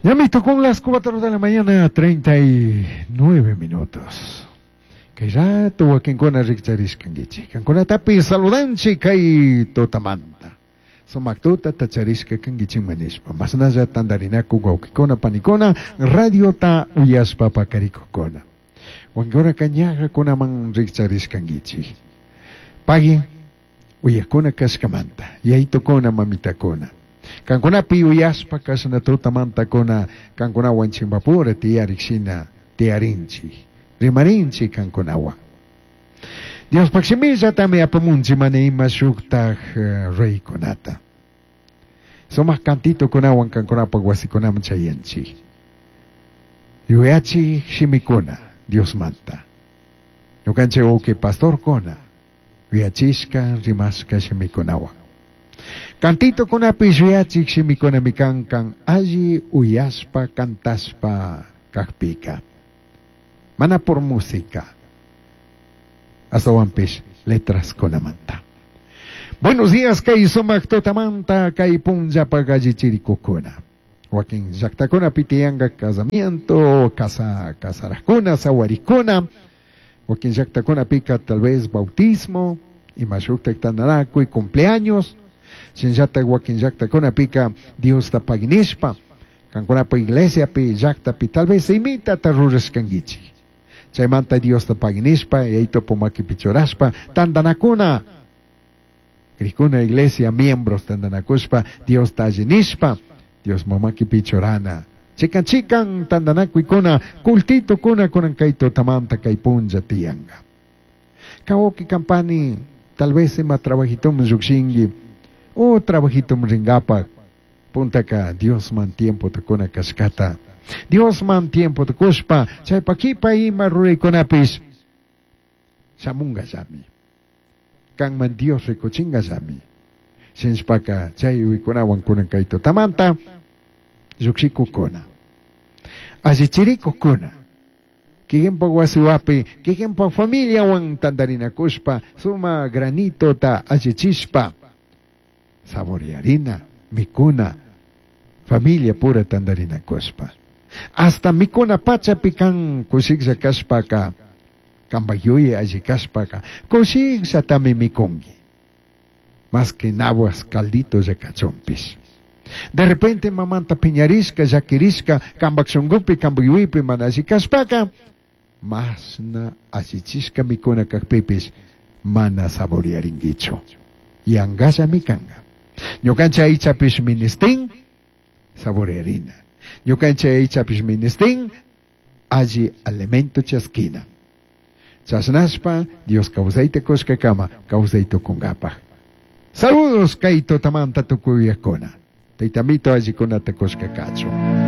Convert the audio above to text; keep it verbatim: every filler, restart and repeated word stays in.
Ya me tocó las cuatro de la mañana, treinta y nueve minutos. Kay rato wakinkuna rikcharishkankichik. Kankunatapi saludanchik kay tutamanta. Sumak tutata charishka kankichikman nishpa. Mashnalla tandarinaku wawkikuna panikuna radiota uyashpa pakarikukuna. Wakinkuna ñajakunaman rikcharishkankichik. Pagui uyakuna kashkamanta. Yaytukuna mamitakuna. Kankunapi uyashpa kashna tutamantakuna kankunawan chimpapura tiyarik shina tiyarinchik. Rimarinchik kankunawan. Diospaj shimillatami apamunchik mana ima shuktaj reykunata. Sumak cantitokunawan kankunapaj wasikunaman chayanchik. Yuyachik shimikuna Diosmanta. Ñukanchik wawki pastorkuna yuyachishka rimashka shimikunawan. Cantitokunapish yuyachik shimikunami kan kan alli uyashpa cantashpa kakpika. Mana por música. Ashtahuanpish letraskunamanta. Buenos días, kay sumak tutamanta kay punllapaj allichirikukuna. Wakin llaktakunapi tiyanka casamiento, casa, casarakuna, sawarikuna. Wakin llaktakunapika tal vez bautismo, ima shuktak tandanakuy, cumpleaños. Shinllatak wakin llaktakunapika Diosta pagui nishpa. Kankunapa iglesiapi, llaktapi, tal vez imitata rurashkankichik. Chaymanta Diosta pagui nishpa, Yayitupu makipi churashpa, tandanakuna. Krikuna iglesia, miembros tandanakushpa, Diosta alli nishpa, Dios makipi churana. Chikan chikan tandanakuykuna, cultitokuna kunan kay tutamanta kay punlla tiyanka. Kawki kampani, tal vez ima trabajitoman llukshinki, o trabajitoman rinkapak, puntaka Diosman tiempota kuna kashkata. Diosman tiempota kushpa, chaypa kipa ima ruraykunapish shamunkallami. Kanman Dios rikuchinkallami. Shinashpaka chay yuyaykunawan kunan kay tutamanta llukshikukuna. Allichirikukuna. Kikinpak wasiwapi, kikinpak familiawan tandarinakushpa, suma granitota allichishpa, saborearina, mikuna, familia pura tandarinakushpa. Hasta mikuna pachapi kan kushiklla kashpaka, kanpak yuyay alli kashpaka, kushikllatami mikunki. Más que naguas caldito kachunpish. De repente mamanta piñarishka, llakirishka, kanpak shunkupi, kanpak yuyaypi mana alli kashpaka, mashna allichishka mikuna kakpipish mana saborearinkichu. Yankallami kanka. Ñukanchik aychapish ministin, saborearina. Ñukanchik aychapish ministin, alli alimento chaskina. Chashnashpa, Dios kawsayta kushkakama, kawsay tukunkapaj. Saludos kay tutamanta tukuyakuna. Tayta Amito allikunata kushka kachun.